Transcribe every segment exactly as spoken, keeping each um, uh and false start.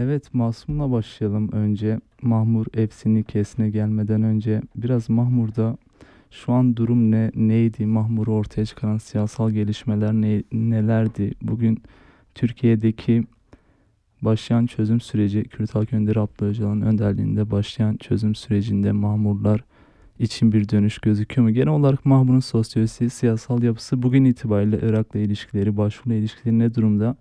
Evet, Masum'la başlayalım önce. Mahmur F C'nin kesine gelmeden önce biraz Mahmur'da şu an durum ne, neydi? Mahmur'u ortaya çıkaran siyasal gelişmeler ne, nelerdi? Bugün Türkiye'deki başlayan çözüm süreci, Kürt Halk Önderi Abdullah Öcalan'ın önderliğinde başlayan çözüm sürecinde Mahmurlar için bir dönüş gözüküyor mu? Genel olarak Mahmur'un sosyolojisi, siyasal yapısı, bugün itibariyle Irak'la ilişkileri, Başur'la ilişkileri ne durumda?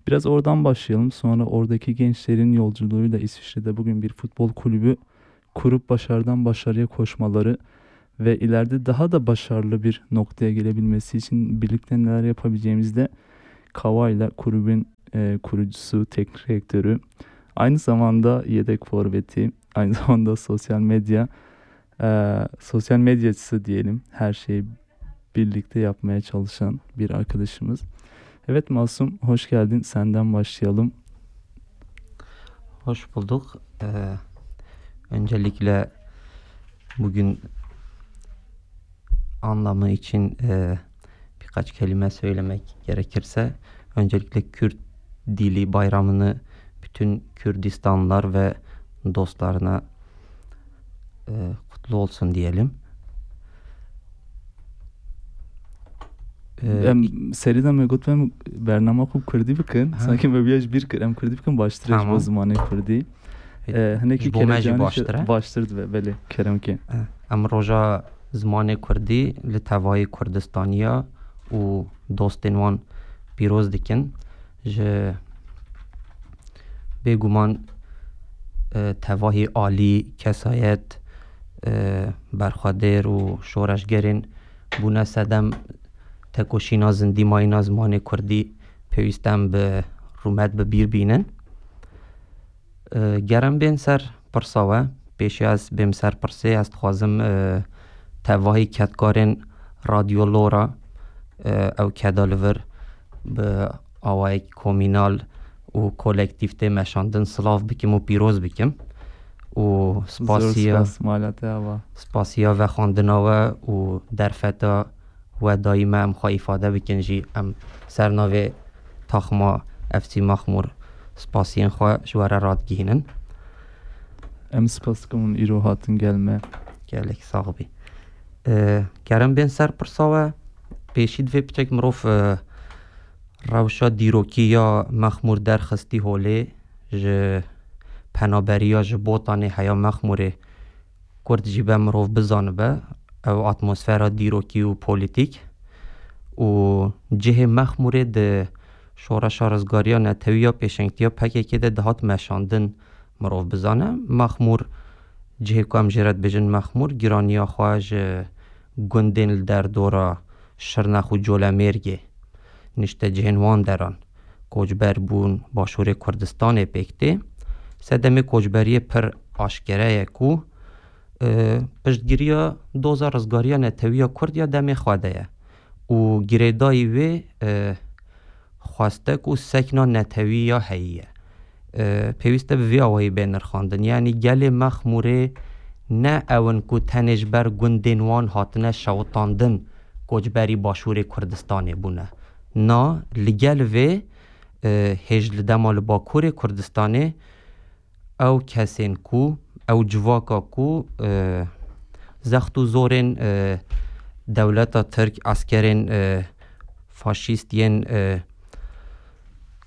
Biraz oradan başlayalım. Sonra oradaki gençlerin yolculuğuyla İsviçre'de bugün bir futbol kulübü kurup başarıdan başarıya koşmaları ve ileride daha da başarılı bir noktaya gelebilmesi için birlikte neler yapabileceğimizi de Kawa'yla kulübün, e, kurucusu, teknik direktörü, aynı zamanda yedek forveti, aynı zamanda sosyal medya, e, sosyal medyacısı diyelim. Her şeyi birlikte yapmaya çalışan bir arkadaşımız. Evet Masum, hoş geldin. Senden başlayalım. Hoş bulduk. Ee, öncelikle bugün anlamı için e, birkaç kelime söylemek gerekirse, öncelikle Kürt Dili Bayramı'nı bütün Kürdistanlılar ve dostlarına e, kutlu olsun diyelim. Ee, Em, serî de me got, em bernama xwe kurdî bikin. Ha. Sanki me bîya ji bîr kir. Em kurdî bikin, baştir e ji bo Tamam. zimanê kurdî. E, Ee, hinekî ji bo me jî kelecanî baştir e. Baştir dibe, belê, kerem ke. E, em roja zimanê kurdî li tevayî Kurdistaniya û dostên wan pîroz dikin. Ji bêguman e, tevahî alî, kesayet, e, berxwedêr û şoreşgerên bûne sedem tekoşîna zindî mayîna zimanê kurdî pêwîst em bi rûmet bi bîr bînin. E, ger em bên ser pirsa we, pêşî ez bêm ser pirsê, ez dixwazim, e, tevahî kedkarên Radyo Lora, e, ew keda li vir bi awayek komînal û kolektîf tê meşandin silav bikim û pîroz bikim. Û Zor spasiya, spas, mala te ava. Spasiya vexwendina we û derfeta we dayî me em xwe îfade bikin jî, em ser navê taxma F C Maxmûr spasiyên xwe ji we re radigihînin. Em spas dikin hûn îro hatin gel me. Gelek sax bî. E, ger em bên ser pirsa we, pêşî divê piçek mirov, e, rewşa dîrokî ya Mexmûr derxistî holê, ji penaberiya ji Botanê heya Mexmûrê Kurd jî be mirov bizanibe, ew atmosfera dîrokî û polîtîk û cihê Mexmûrê di şoreşa rizgariya netewî ya pêşengtiya P K K de dihat meşandin mirov bizane. Mexmûr, cihê ku em jê re dibêjin Mexmûr, giraniya xwe ji gundên li derdora Şirnex û Colemêrgê, niştecihên wan deran, koçber bûn Başûrê Kurdistanê pêk tê. Sedemê koçberiyê pir aşkere ye ku, e, piştgiriya doza rizgariya netewî ya Kurd ya demê xwe de ye û girêdayî wê, e, xwestek û sekna netewî ya heyî ye. E, pêwîst e bi vî awayî bê nirxandin. Yanî gelê Mexmûrê ne ew in ku tenê ji ber gundên wan hatine şewitandin, koçberî Başûrê Kurdistanê bûne. Na, li gel vê, e, hêj li dema li Bakurê Kurdistanê ew kesên ku, ew civaka ku, e, zext û zorên, e, dewleta Tirk, eskerên, e, faşîst yên, e,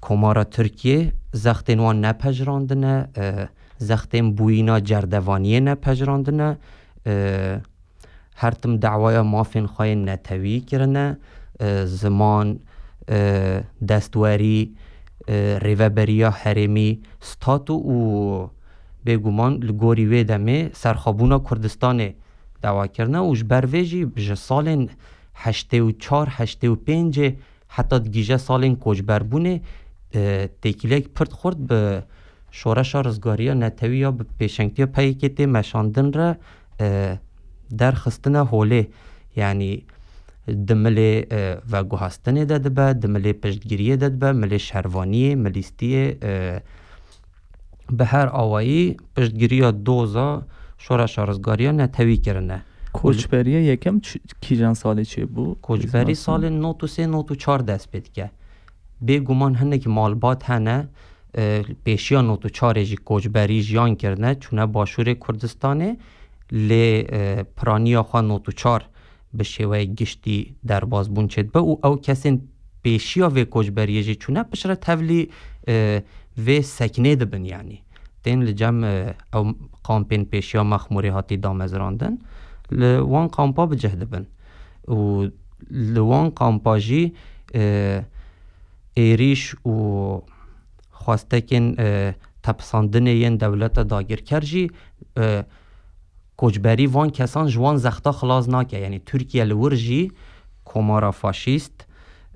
Komara Tirkiyê zextên wan nepejirandine, e, zextên bûyîna cerdevaniyê nepejirandine, e, her tim dawaya mafên xwe yên netewî kirine, e, ziman, e, destwerî, e, rêveberiya herêmî, statu û bêguman li gorî wê demê serxwebûna Kurdistanê dawa kirine û ji ber vê jî ji salên heştê û çar heştê û pêncê heta digihîje salên koçberbûnê, e, têkiliyek pir xurt bi şoreşa rizgariya netewî ya bi pêşengtiya P Y K'ê tê meşandin re, e, derxistine holê. Yanî di milê, e, veguhastinê de dibe, di milê piştgiriyê de dibe, milê şervaniyê, milîstiyê, e, bi her awayî piştgiriya doza şoreşa rizgariya netewî kirine. Koçberiya yekem çi-, kîjan salê çêbû? Koçberî salên nod û sê nod û çar dest pê dike. Bêguman hinek malbat hene, e, pêşiya nod û çarê jî koçberî jiyan kirine, çûne başûrê Kurdistanê, lê, e, piraniya xwe nod û çar bi şêweyê giştî derbazbûn çêdibe û ew kesên pêşiya vê koçberiyê jî çûne piştre tevlî, e, vê seknê dibin, yanî tên li cem, e, ew kampên pêşiya Mexmûrê hatî damezrandin, li wan kampa bi cih dibin û li wan kampa jî, e, êrîş û xwestekên, e, tepisandinê yên dewleta dagirker jî, e, koçberî van kesan ji wan zexta xilas nake. Yanî Tirkiye li wir jî komara faşîst,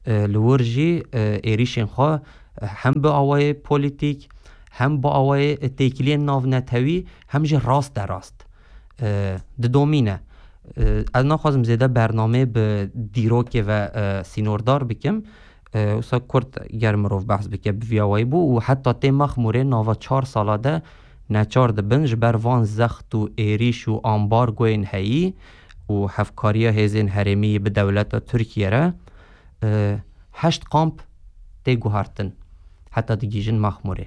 e, li wir jî, e, êrîşên xwe, e, hem bi awayê polîtîk, hem bi awayê, e, têkiliyên navnetewî, hem jî raste rast, e, didomîne. E, ez naxwazim zêde bernameyê bi dîrokê ve, e, sînordar bikim. E, wisa kurt ger mirov behs bike bi vî awayî bû û heta tê Mexmûrê nava çar sala de neçar dibin ji ber van zext û êrîş û ambargoyên heyî û hevkariya hêzên herêmî yî bi dewleta Tirkiye re, e, heşt kamp tê guhertin heta digihîjin Mexmûrê.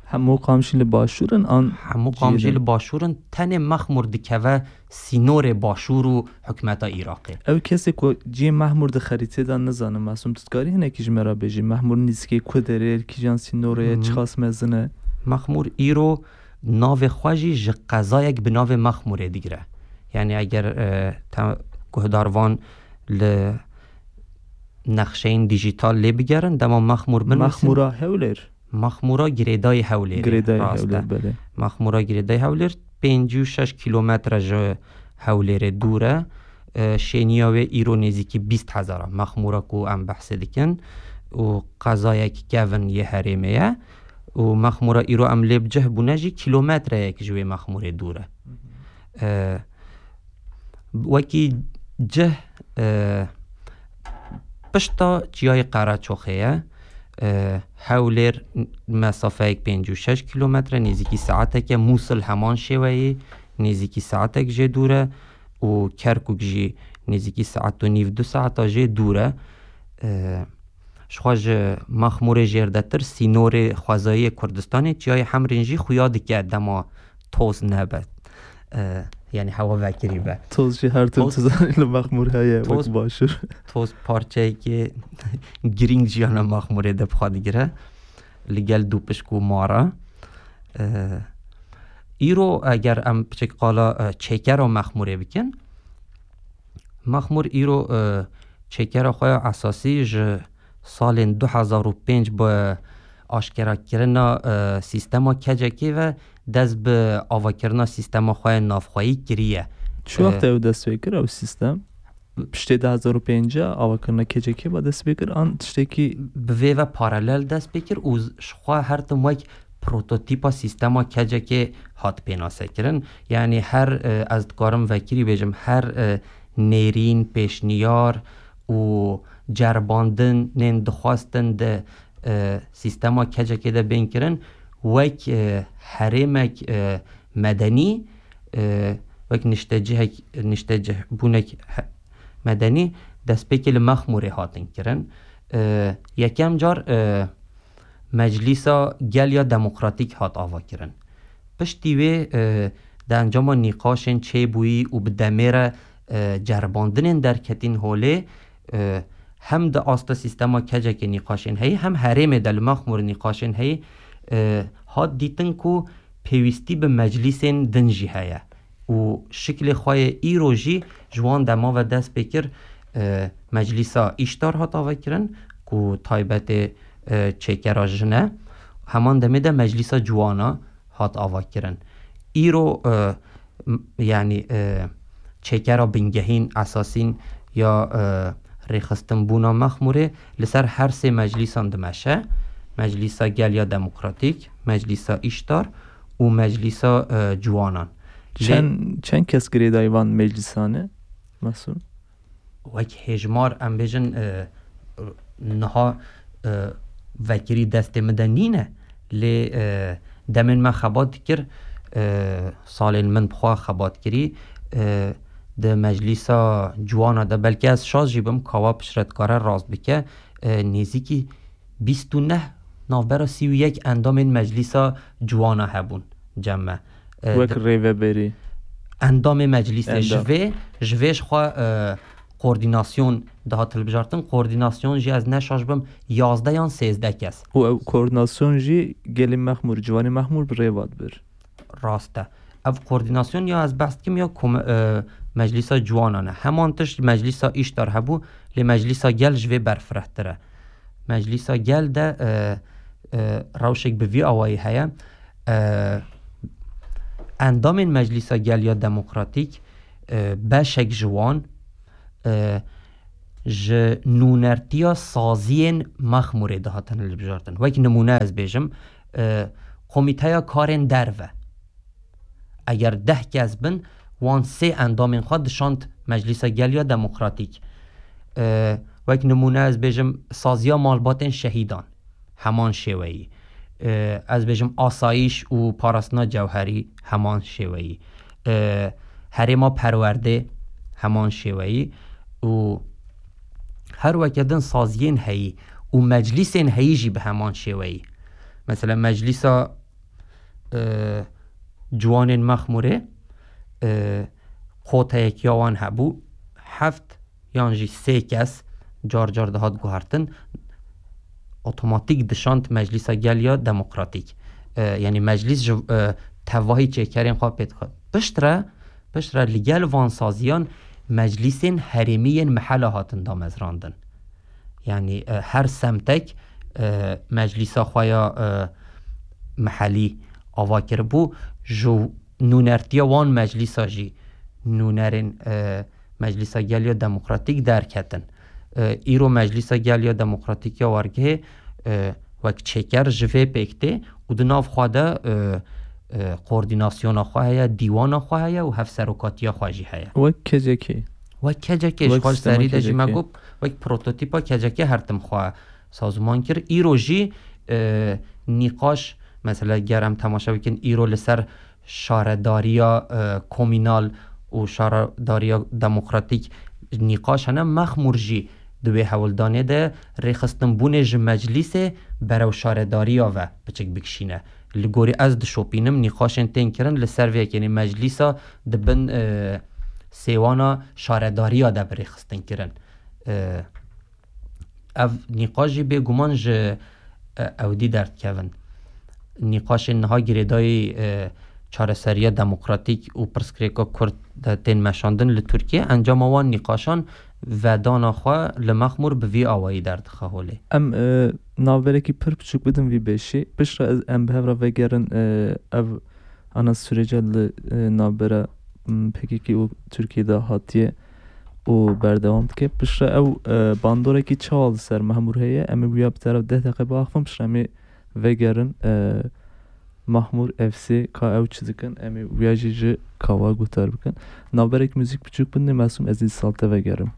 Hemû qamşî li başûr in an Hemû qamşî cihê din? Li başûr in, tenê Mexmûr dikeve sînorê başûr û hikûmeta Iraqê. Ew kesê ku cihê Mexmûr di xerîtê de nizane, Mesûm, tu dikarî hinekî ji me re bêjî, Mexmûr nîzikê ku derê, li kîjan sînorê ye, Hı hı. Çiqas mezin e? Mexmûr îro navê xwe jî ji qezayek bi navê Mexmûrê digire. Yanî eger, e, te guhdarvan li nexşeyên dîjîtal lê bigerin, dema Mexmûr binivîsin. Mexmûra Hewlêr? Mexmûra girêdayî Hewlêrê, Girêdayî rast e. Hewlêr, belê. Mexmûra girêdayî Hewlêr pêncî û şeş kîlometre ji Hewlêrê dûr e. E, şêniya wê îro nêzîkî bîst hezar e. Mexmûra ku em behsê dikin û qezayek kevin yê herêmê ye û Mexmûra îro em lê bi cih bûne jî kîlometreyek ji wê Mexmûrê dûr e. E, wekî cih, e, pişta Çiyayê Qereçoxê ye. E, Hewlêr mesafeyek pêncî û şeş kîlometre, nêzîkî saetek e. Mûsil heman şêweyê, nêzîkî saetek jê dûr e û Kerkûk jî nêzîkî saet û nîv, du saeta jê dûr e. E, Ji xwe ji Mexmûrê jêrdetir sînorê xwezayî yê Kurdistanê, Çiyayê Hemrîn jî xuya dike dema toz nebe. E, yanî hewa vekirî be. Toz jî her tim Toz tu zanî li Mexmûr heye, wek Toz Başûr. Toz parçeyekê girîng jiyana Mexmûrê de bi xwe digire. Li gel dûpişk û mara. E, îro eger em piçek qala, e, çêkera Mexmûrê bikin, Mexmûr îro, e, çêkera xwe ya esasî ji salên du hezar û pênc bi aşkerakirina, e, sîstema kecekê ve dest bi avakirina sîstema xwe ya navxweyî kiriye. Çi wext E, ew dest pê kir, ew sîstem? Piştê du hezar û pênc avakirina kecekê ve dest pê kir, an tiştekî Bi vê ve paralel dest pê kir û z-, ji xwe her tim wek prototîpa sîstema kecekê hat pênasekirin. Yanî her, e, ez dikarim vekirî bêjim, her, e, nêrîn, pêşniyar û ceribandinên dixwestin di, e, sîstema kecekê de bên kirin, wek, e, herêmek, e, medenî, e, wek niştecihek, niştecihbûnek he-, medenî destpêkê li Mexmûrê hatin kirin. E, yekem car, e, Meclîsa Gel ya Demokratîk hat avakirin. Piştî wê, e, di encama nîqaşên çêbûyî û bi demê re, e, ceribandinên derketîn holê, e, hem di asta sîstema kecekê nîqaşên heyî, hem herêmê de li Mexmûr nîqaşên heyî, e, hat dîtin ku pêwîstî bi meclîsên din jî heye û şiklê xwe yê îro jî ji wan dema ve dest pê kir, e, Meclîsa Îştar hat avakirin ku taybetê, e, çêkera jin e. Heman demê de Meclîsa Ciwana hat avakirin. Îro, e, m-, yanî, e, çêkera bingehîn, esasîn ya, e, rêxistinbûna Mexmûrê li ser her sê meclîsan dimeşe. Meclîsa Gel ya Demokratîk, Meclîsa Îştar û Meclîsa, e, Ciwanan. Lê Çend, çend kes girêdayî van meclîsan e, Mesûm? Wek hêjmar, em bêjin, e, niha, e, vekirî destê min de nîne, lê, e, demên me xebat dikir, e, salên min bi xwe xebat kirî, e, di Meclîsa Ciwana de, belkî ez şaş jî bim, Kawa piştre dikare rast bike, e, nêzîkî bîst û neh Navbera sî û yek endamên Meclîsa Ciwana hebûn, Cem me. E, Wek di- rêveberî. Endamê meclîsê ji Endam. vê, ji vê ji xwe, e, koordînasyon dihat hilbijartin. Koordînasyon jî ez ne şaş bim, yazdeh yan sêzdeh kes. Û ew koordînasyon jî gelê Mexmûr, ciwanê Mexmûr bi rê ve dibir. Rast e. Ev koordînasyon ya ez behs dikim ya kom-, e, Meclîsa Ciwanan e. Heman tişt Meclîsa Îştar hebû, lê Meclîsa Gel ji vê berfirehtir e. Meclîsa Gel de, e, e, rewşek bi vî awayî heye. E, endamên Meclîsa Gel ya Demokratîk, e, beşek ji wan, e, ji nûnertiya saziyên Mexmûrê dihatin hilbijartin. Wek nimûne ez bêjim, e, Komîteya Karên Derve. Eger deh kes bin, wan sê endamên xwe dişand Meclîsa Gel ya Demokratîk. E, wek nimûne ez bêjim, saziya malbatên şehîdan, heman şêweyî. E, ez bêjim, asayîş û parastina cewherî, heman şêweyî. E, herêma perwerdê, heman şêweyî. Û her weke din saziyên heyî û meclîsên heyî jî bi heman şêweyî. Mesela Meclîsa, e, Ciwanên Mexmûrê, e, koteyek ya wan hebû, heft yan jî sê kes car car dihat guhertin, otomatîk dişand Meclîsa Gel ya Demokratîk. E, yanî meclîs ji, e, tevahî çêkerên xwe pê dixwe. Piştre, piştre li gel van saziyan meclîsên herêmî yên mihela hatin damezrandin. Yanî, e, her semtek, e, meclîsa xwe ya, e, mihelî ava kiribû. Ji nûnertiya wan meclîsa jî nûnerên, e, Meclîsa Gel ya Demokratîk derketin. E, îro Meclîsa Gel ya Demokratîk ya Wargehê, e, wek çêker ji vê pêk tê û di nav xwe de, e, e, koordînasyona xwe heye, dîwana xwe heye û hevserokatiya xwe jî heye. Wek K C K. Wek K C K, ji Wek xwe ji sistema serî de jî me K C K. Got, wek prototîpa K C K her tim xwe sazûman kir. Îro jî, e, nîqaş, mesela ger em temaşe bikin, îro li ser şaredariya, e, komînal û şaredariya demokratîk nîqaş hene. Mexmûr jî di wê hewldanê de rêxistinbûnê ji meclîsê berew şaredariya ve piçik bikişîne. Li gorî ez dişopînim, nîqaşên tên kirin li ser vê yekê, yanî meclîsa di bin, e, sêwana şaredariya de bi rêxistin kirin. E, ev nîqaş jî bêguman ji, e, ewdî derdikevin. Nîqaşên niha girêdayî, e, çareseriya demokratîk û pirsgirêka Kurd de tên meşandin li Tirkiye, encama wan nîqaşan vedana xwe li Mexmûr bi vî awayî derdixe holê. Em, e, navberekî pir biçûk bidin vî beşî. Piştre ez, em bi hev re vegerin, e, ev ana sürece li, e, navbera, m, P K K û Tirkiye de hatiye û berdewam dike. Piştre ew, e, bandorekî çawa li ser Mexmûr heye, em ê wîya bi teref deh deqe biaxivin, piştre em ê vegerin, e, Mexmûr F C ka ew çi dikin, em ê wîya jî ji kawa guhdar bikin. Navberek muzîk biçûk bidin, Mesûm, ez ê dîsa li te vegerim.